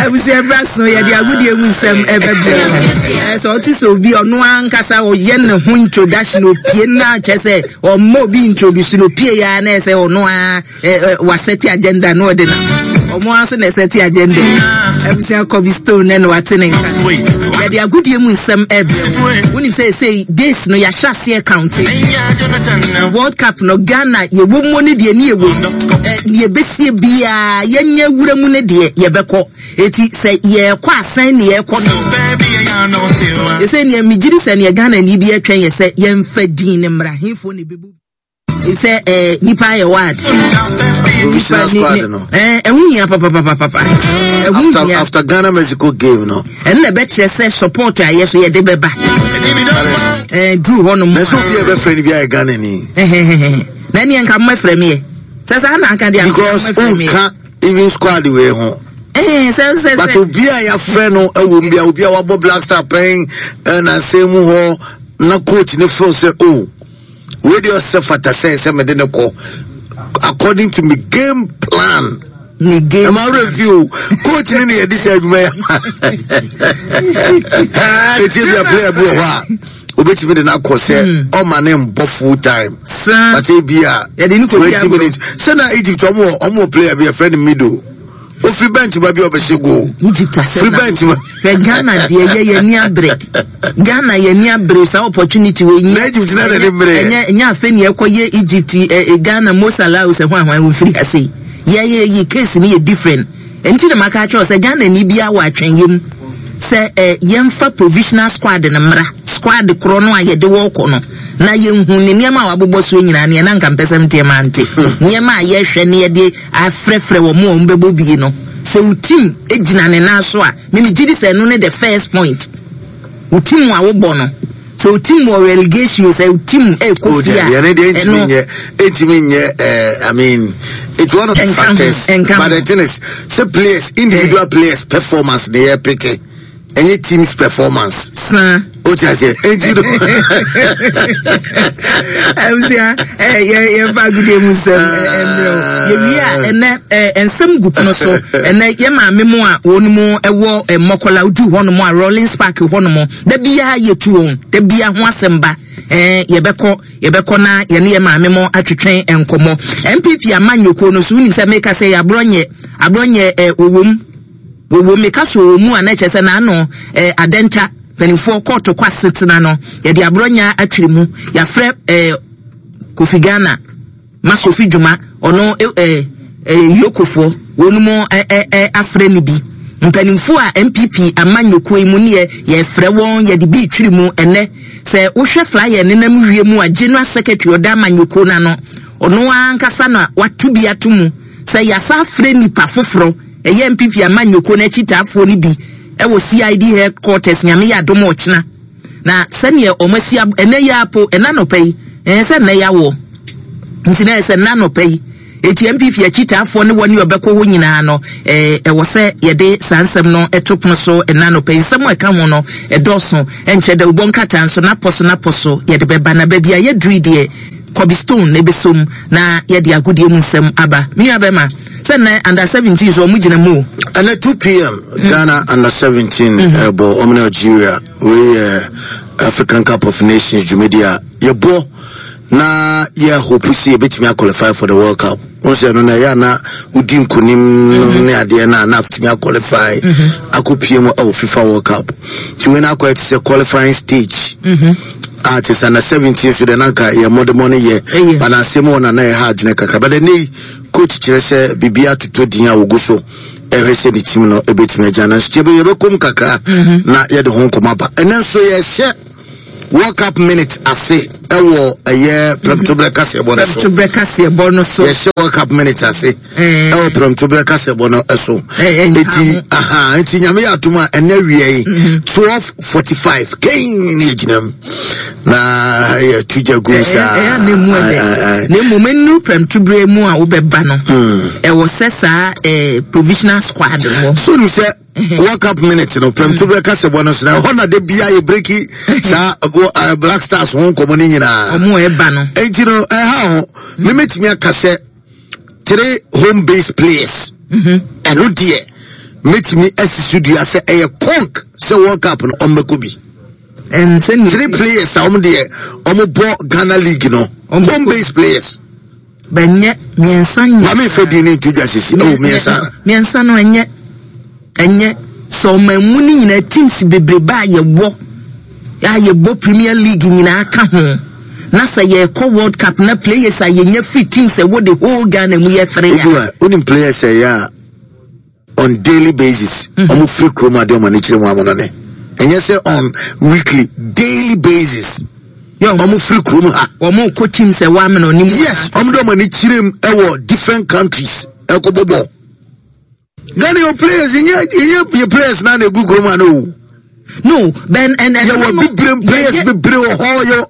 Abusua bra so yɛde agodie mu nsɛm ɛbɛbrɛ. Sɛ ɔte sɛ obi ɔno ankasa ɔyɛ ne ho introduction opie na kyerɛ sɛ ɔmmɔ obi introduce no opie ya na ɛsɛ ɔno a wasɛte agenda na ɔde na ɔmo ara nso na ɛsɛte agenda. Abusua Kobe Stone na wate ne nka. Yɛde agodie mu nsɛm ɛbrɛ. Wonim sɛ ɛsɛ days no yɛahyɛ aseɛ counte. World Cup no Ghana yɛwɔ mu ne deɛ ne yɛwɔ mu. Deɛ ɛbɛsie biara yɛnyɛ wura mu ne deɛ yɛbɛkɔ. Eti sɛ yɛrekɔ asɛn ne yɛrekɔ no. Ɛsɛ nea megyiri sɛ nea Ghana ni bi ɛtwɛn yɛ sɛ yɛmfa din ne mmra hefoɔ na ɛbɛbu. Sɛ ɛɛ nipa yɛ ward. Provisional squad no. Ɛɛ ɛho hia papapapapa. Ɛho hia. After Ghana Mexico game no. Ɛno na ɛbɛkyerɛ sɛ support a yɛ so yɛde bɛba. Ɛɛ duru hɔ nom. Na sɛ obi a ɛbɛfrɛ no bi ayɛ Ghana ni. Na ɛneɛ nka mmɛfrɛ me yɛ. Sɛ saa na aka deɛ because wonka even squad wei ho. Eh, sɛ sɛ but obi a yɛafrɛ no ɛwɔ mu bi a obi a wabɔ Black Star pɛn ɛnansɛn mu hɔ na coach ne feel sɛ oh wei deɛ ɔsɛ fata sɛ sɛ mede ne kɔ according to me game plan. Ne game. Ɛma awura fi o coach ne ne yɛde sɛ adwuma yɛ ma. Etie bi a player bi wɔ hɔ a obetumi de n'akɔ sɛ hmm. ɔma ne mbɔ full time. Saa. But ebi a 20 minutes sɛ na Egypt ɔmo wɔ ɔmo wɔ player bi yɛfrɛ no Mido ofiri bench ba bi a ɔbɛhyɛ goal. Egypt asɛm firi bench ba. Hwɛ Ghana deɛ yɛ yɛ ni abere Ghana yɛ ni abere saa opportunity wɔ enyi. Na Egypt na na ne mmere. Ɛnyɛ ɛnyɛ afɛ ni ɛkɔ yɛ Egypt ɛ ɛ Ghana Mo Salah sɛ hwan hwan ofiri ase yi yɛ yɛ yi case ni yɛ different. Ɛnti na maka akyerɛ wo sɛ Ghana ni biara wɔ atwɛnyɛ mu sɛ ɛ yɛmfa provisional squad no mmra, squad korɔ no a yɛde wɔ kɔ no, na yɛnhu ne nneɛma a wabobɔ soɔ nyinaa neɛ na nka mpɛ sɛ mteɛ mante. Nneɛma a yɛhwɛ ne yɛde afrɛfrɛ wɔn a wɔn bɛbɔ bie no, sɛ wo team gyina ne nan so a, me megye di sɛ ɛno ne the first point. Wo team a wobɔ no, sɛ o team wɔ relegation o sɛ o team ɛkɔ oh, fie a ɛno ɛntumi nyɛ ɛntumi nyɛ eh, I mean it's one of the factors but the thing is sɛ players individual eh. players performance ne yɛ peke ɛnyɛ teams performance. Saa. O ti ase eti do. Abusua ɛ yɛ yɛ fa agudie mu nsɛm ɛmbrɛ o yɛwie a ɛnɛ ɛ nsɛm gu pono so ɛnɛ yɛ maame mu a wɔn mu ɛwɔ mmɔkɔla odu hɔ nom a Rollins Park hɔ nom. Da biara yɛtu wɔn, da biara ho asɛm ba. Ɛɛ, yɛbɛkɔ, yɛbɛkɔ na yɛne yɛ maame mo atwetwe nkɔmmɔ. NPP amanyɔkuo no so, wonim sɛ meka sɛ yɛ aborɔ nyɛ, aborɔ nyɛ ɛ, wɔwom, wɔwom, meka so wɔwɔ mu a na ɛkyerɛ sɛ n'ano ɛ, adɛnta, mpanimfoɔ kɔɔto kɔ asetena no, yɛde aborɔ nyɛ atwere mu, yɛafrɛ ɛ, Kofi Ghana. Masofi dwuma, ɔno eh, eh, Yokofoɔ, wɔn mu eh, eh, eh, afrɛ no bi. Mpanimfoɔ a NPP amanyɔkuo yi mu neɛ yɛfrɛ wɔn yɛde bi retwiri mu ɛnɛ. Sɛ wohwɛ flyer nenam wie mu a General Secretary ɔda amanyɔkuo no ano, ɔno ankasa na wato bi ato mu sɛ yɛasa afrɛ nipa foforɔ ɛyɛ NPP amanyɔkuo no akyitaafoɔ no bi ɛwɔ CID headquarters Nyame yɛ adom ɔkyena. Na sɛdeɛ wɔn asi ab ɛnɛ yi ara po ɛna anɔpa yi ɛɛ sɛ nnɛ yawoɔ nti na ɛsɛ nnɛ anɔpa yi eti NPP akyitaafoɔ ne wɔn ne ɔbɛkɔ hɔ nyinaa no ɛɛ ɛwɔ sɛ yɛde saa nsɛm no ɛto pono so ɛnɛ anɔpa yi nsɛm a ɛka ho no ɛdɔɔso ɛnkyɛ dɛ wobɔ nkrataa nso n'apɔ so n'apɔ so yɛde bɛba na baabi a yɛduru deɛ Kobe Stone na ɛbɛsom na yɛde agodie mu nsɛm aba me nua bɛma sɛ nnɛ under 17 so wɔn gyina mu o. Ɛnɛ 2 pm Ghana under 17 ɛbɔ wɔn ne Algeria. Wei yɛ African Cup of Nations dwumadi a yɛbɔ na yɛ hope sɛ yɛbɛtumi aqualify for the World Cup. Wɔn sɛ ɛno na ɛyɛ a na wodi nkonim no ne adeɛ no a na atumi aqualify akɔpie mu ɛwɔ FIFA World Cup. Nti wei no akɔyɛ te sɛ qualifying stage. A te sɛ na 17 so deɛ na anka yɛ mmɔdemmɔ no yɛ but na asɛm wɔ na na ɛha adwene kakra. But ɛnɛ yi coach kyerɛ sɛ biribi atotɔ din a wɔgu so ɛhwɛ sɛ ne team no ɛbɛtumi agya no nso yɛbɛ yɛbɛkɔm kakra mhm. na yɛde ho nkɔmɔ aba ɛnɛ nso yɛhyɛ World Cup minute ase ɛwɔ ɛyɛ prɛmtoberɛ kaseɛbɔ no so prɛmtoberɛ kaseɛbɔ no so yɛhyɛ World Cup minute ase eh. ɛwɔ prɛmtoberɛ kaseɛbɔ no so eh, eh, eti aha eti nyame yɛ atom a ɛnɛ wia yi mhm. 12:45 kɛn ne yɛgyina mu na yɛtu gya gu saa ɛyɛ na emu ɛdɛ na mmom nnuru prɛmtoberɛ mu a wobɛba no hmm. ɛwɔ sɛ saa eh, provisional squad wɔ so nim sɛ World Cup minute no prɛmtoberɛ kasɛbɔ no so na ɛhɔ na da bia yɛ breki saa eh, Black Stars ho nkɔmmɔ no nyinaa ɔmo ɛba no enti no ɛha ho memetumi aka sɛ three home based players mhm. ɛno deɛ. mɛtumi asi so dua sɛ ɛyɛ conk sɛ World Cup no ɔmbɛkɔ bi. Three players a wɔn deɛ wɔn bɔ Ghana league no, home based players. Bɛnyɛ mmiɛnsa nyɛ. Maame nfa din ne nto dwa sisi ɛwɔ oh, mmiɛnsa. Mmiɛnsa no ɛnyɛ ɛnyɛ sɛ ɔman mu no nyinaa teams bebrebe a yɛwɔ a yɛbɔ Premier League nyinaa ka ho na sɛ yɛkɔ World Cup na players a yɛnya free teams ɛwɔ the whole Ghana mu yɛ three a. Obi a wonim players ɛyɛ a on daily basis mhm. wɔn firi kurom ade wɔn ani kyerɛ mu amono ne ɛnyɛ sɛ on weekly, daily basis wɔn firi kurom ha. Wɔn kɔ team sɛ wɔn amena ɔne mu. Yes, wɔn de wɔn ani kyerɛ mu ɛwɔ different countries ɛkɔ bɔ bɔ. Ghana yɛ players yɛ yɛ yɛ players na na egu kurom ha no. No, ben and and. Yɛ wɔ bebree players bebree wɔ hɔ yɛ.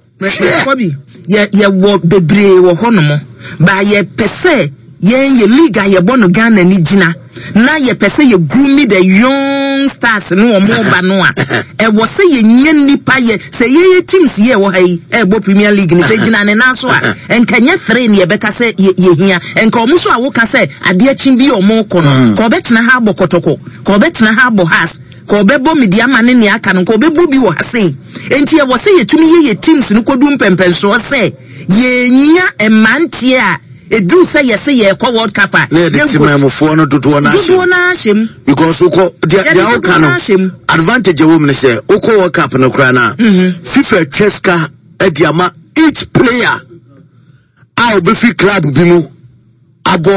Kɔbi, yɛ yɛwɔ bebree wɔ hɔnom, ba yɛpɛ sɛ yɛn yɛ league a yɛbɔ no Ghana ni gyina na yɛpɛ sɛ yɛ groom the young stars no wɔn ba no a, ɛwɔ sɛ yɛnya nnipa yɛ sɛ yɛyɛ teams yɛ ɛwɔ ha yi ɛbɔ Premier League no sɛ gyina ne nan so a, nka nyɛ three ne yɛbɛka sɛ yɛhia. Nka wɔn so a woka sɛ adeɛ kye bi wɔn kɔ no, ka wɔbɛtena ha abɔ Kɔtɔkɔ, ka wɔbɛtena ha abɔ Hearts, Ka ɔbɛbɔ me deɛ ama ne nea aka no, nka ɔbɛbɔ bi wɔ ha sei. Enti ɛwɔ sɛ yɛtumi yɛ yɛ teams no kɔdu mpɛmpɛnsoɔ sɛ yɛnya mmeranteɛ a ɛduru sɛ yɛse yɛrekɔ World Cup a, Na yɛde yɛnkɔ temanmufoɔ no dodoɔ no ahyɛ dodoɔ mu. no ara hyɛ mu. Because wokɔ deɛ Yɛde deɛ woka dodoɔ no no ara hyɛ mu. advantage ɛwɔ mu ne sɛ wokɔ World Cup no koraa no a FIFA atwa sika de ama each player a ɔbɛfiri club bi mu abɔ.